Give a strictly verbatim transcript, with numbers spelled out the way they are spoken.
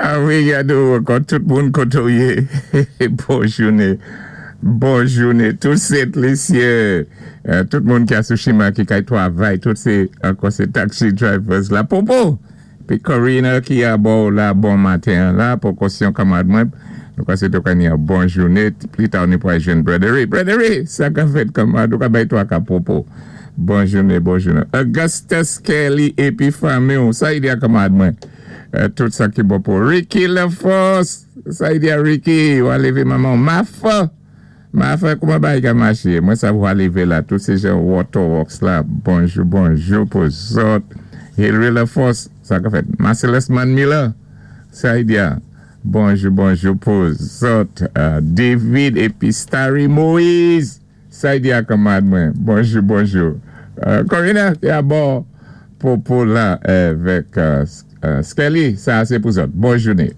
A wi, gado, ankò tout moun koto yé. Bon jouné. Bon jouné. Tout Sent Lisyen. Euh, tout moun ki a sou chimen ki kay twavay, tout sé, ankò sé taxi drivers la. Popo! Pi Corina ki a bò la bon maten la, pou kosyon kanmad mwen. Nou ka sé to ka ni a bon jouné. Pli ta ni pou ay jwenn Brother Brother sa ka fèt kanmad, nou ka bay twa ka popo. Bon jouné, bon jouné. Augustus Kelly épi fanmi, sa i di a kanmad mwen. Euh, tout sa ki bon pou Ricky LaForce. Sa i di a Ricky, ou a lévé manman. Mafa. Mafa, kouman bay ka maché? Mwen sa ou a lévé la. Tout sé jan Waterworks la. Bonjou, bonjou pou zòt. Hillary LaForce, sa ka fèt. Marcellus Man Miller. Sa i di a. Bonjou, bonjou pou zòt. Uh, David épi Starry Moïse. Sa i di a kanmad mwen. Bonjou, bonjou. Uh, Corina, ki a bò pou pou la avèk uh, uh, Skelly, sa sé pou zòt. Bon jouné.